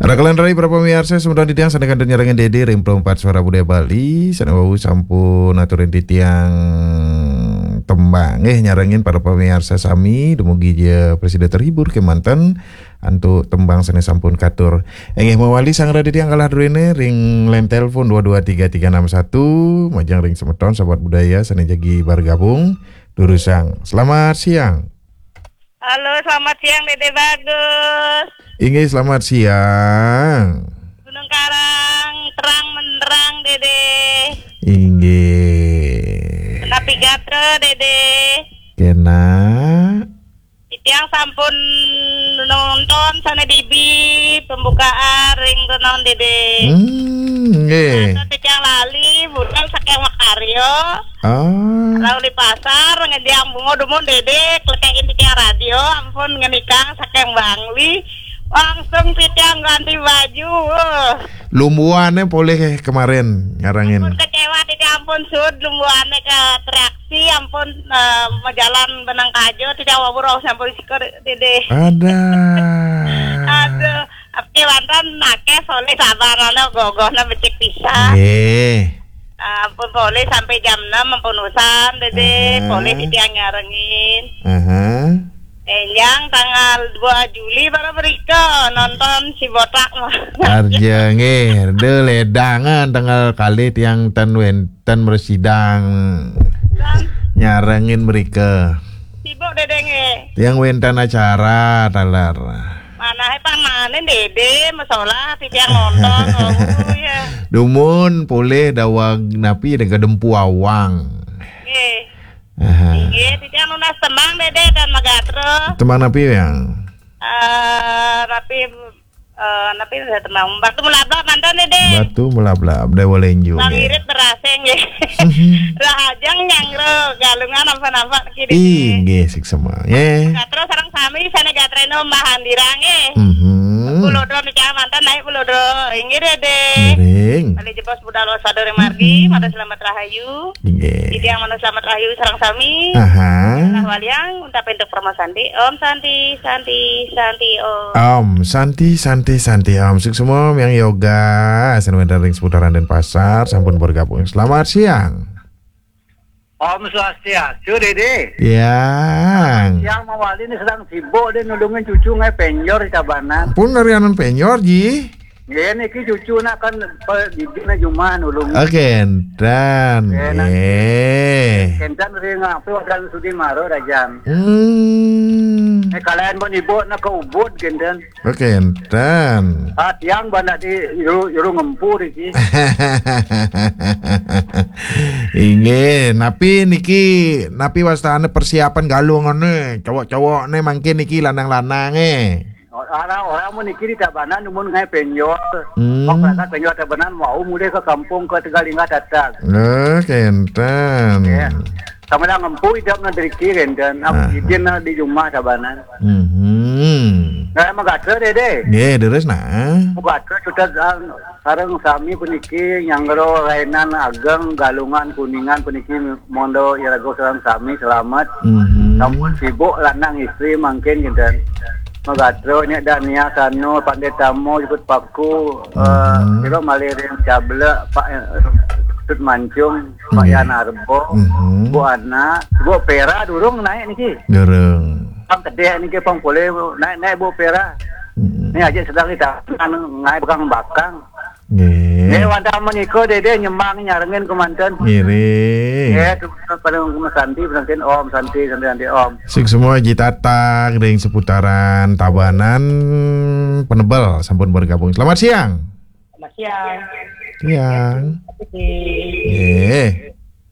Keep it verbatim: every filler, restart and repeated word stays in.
Rakelan rai para pamiarsa, semeton titiang sané kantun nyarengin Dédé ring Pro empat Suara Budaya Bali, sané wau sampun aturin titiang tembang. Nggih, nyarengin para pamiarsa sami, dumugi ja prasida terhibur kémanten antuk tembang sané sampun katur. Inggih mawali sang raditya kalah druéné ring line telepon dua dua tiga tiga enam satu, majeng ring semeton sahabat budaya sané jagi bergabung, durusang. Selamat siang. Halo, selamat siang, Dédé Bagus. Inggih, selamat siang. Gunung Karang terang menderang, Dédé. Inggih. Napi gatra, Dédé? Kénak. Titiang sampun nonton sané bibi pembukaan ring renon, Dédé. Hmm, nggih. Atau titiang lali budal saking makarya. Ah. Lalu di pasar, ngediang bunga dumun, Dédé, klekekin titiang radio, ampun ngenikang saking Bangli. Langsung titiang ganti baju. Wah. Lumbuané polih kemarin nyarengin. Ampun kecewa, titiang ampun sud lumbuané ke atraksi, ampun, eh, majalan benang kajo, titiang wabur sampun siko, Dédé. Ada. Aduh, api wonten akéh polih sabarana gogohna becik pisan. Nggih. Ah, ampun polih sampai jam enam ampun usan, Dédé. Aha. Polih titiang nyarengin. Aha. Énjang tanggal dua Juli para mrika nonton si botak mah. Arja nggih, de ledangan tanggal kalih tiang ten wénten mresidang. Dan nyarengin mrika. Sibuk, Dédé, nggih. Tiang wénten acara taler. Manahé pang manen, Dédé, masalah titiang nonton, oh, ya. Dumun polih daweg napi, dega Dempu Awang. Nggih. Aha. Inggih, titiang nunas tembang, Dédé, dan magatra. Tembang napi, Yang? Eh, napi, eh, napi, tembang Batu Melablab manten, Dédé. Batu Melablab, Déwa Lenju, nggih. Ngirit berasé, nggih. Rahajeng nyanggra Galungan, nampak-nampak niki, Dédé. Inggih, suksma, nggih. Gatra sareng sami sané gatraina Mbah Andira, nggih. Mhm. Pulau Dro, titiang manten naik Pulau Dro. Inggih, Dédé. Ngiring. Kali jebos budal waspada ring margi, mhm, matur selamat rahayu. Inggih. Titiang manut selamat rahayu sareng sami. Aha. Nah, waliang untapi antuk parama santi. Om Santi, Santi, Santi, Om. Om Santi, Santi, Santi, Om. Suksma, Yang Yoga, sané wénten ring seputaran Denpasar, sampun bergabung. Selamat siang. Om Swastiastu, Dédé. Yang. Yang mawali nih sedang sibuk, dia nulungin cucu ngaé penjor di Tabanan. Pun ngarianan penjor, Ji. Nggih, niki cucu nak kan pe-, didikna jumah nulung. Oke, énten. Nggih, nah. Nggih. Énten ring apa wadan sudi maro rajan. Hmm. Eh, kalian pun ibu nak ke Ubud, génten. Oke, énten. Ah, tiang bandak di juru, juru ngempu iki. Inggih, napi niki, napi wastane persiapan galungane, cowok-cowokne mangkin niki lanang-lanange. Orang, orang mun niki di Tabanan, mun ngaé penjor. Hmm. Kok berangkat penjor Tabanan, mau mulai ke kampung ke Tegalinga Tatak. Eh, kenten. Iya. Sama dah ngempu idap na driki kenten. Am, ah, idin na di rumah Tabanan. Mhm. Nah, magatra, Dédé. Nggih, terus nah. Magatra cutet, ah, sareng sami puniki nyanggra rainan ageng Galungan Kuningan puniki mondo iraga sareng sami selamat. Mhm. Sampun sibuk lanang istri mangkin kinten. Magatra nya Dania Sano Pandé Tamo jukut paku, eh, mhm, kira malih ring Cablek Pak, eh, Tut Mancung, Pak, nggih, Yan Arbo, mhm, Bu Ana, Bu Pera durung naik niki. Durung. Pang kedék niki pang polih naik-naik Bu Pera. Mhm. Ni aja sedang kita anu ngaé bakang-bakang. Nggih. Nggih, wantah menika Dédé nyembang nyarengin kemanten. Ngiring. Nggih, pada Santi, Santi Om, Santi, Santi, Santi Om. Suksma Ji Tatang ring seputaran Tabanan Penebel sampun bergabung. Selamat siang. Selamat siang. Siang. Nggih.